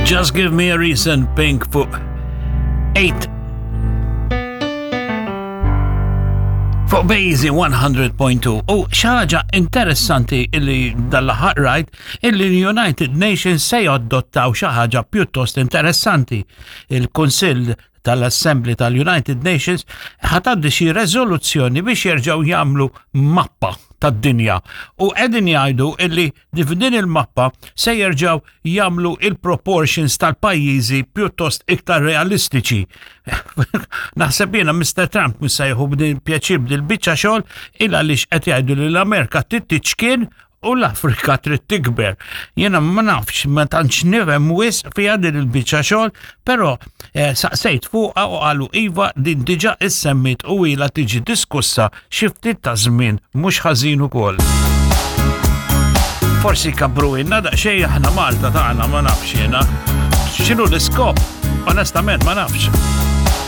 Just Give Me a Reason, Pink fuq 8 fuq Bejzi 100.2 u xaġa interessanti illi dal-aħħar rajt illi l-United Nations se jaddottaw xi ħaġa pjuttost interessanti. Il-Kunsill tal-Assembly tal-United Nations ħataddi xi rezoluzzjoni biex jerġgħu jagħmlu mappa tad-dinja u qegħdin jgħidu illi f'din il-mappa se jerġgħu jagħmlu il-proportions tal-pajjiżi pjuttost iktar realistiċi. Naħseb jiena Mr. Trump mhux se jieħu b'din pjaċir b'dil biċċa xogħol il għaliex qed jgħidu li l-Amerika trid tiċkien u l-Afrika trid tikber. Jiena ma nafx, ma tantx nifhem wisq fiha din il-biċċa xogħol, però eh, saqsejt fuqha u qalu iva din diġà issemmit u ilha tiġi diskussa xi ftit ta' żmien mhux ħażin ukoll. Forsi kabru inna daqsxejn aħna Malta tagħna ma nafx jiena. X'inhu l-iskop? Onestament ma nafx.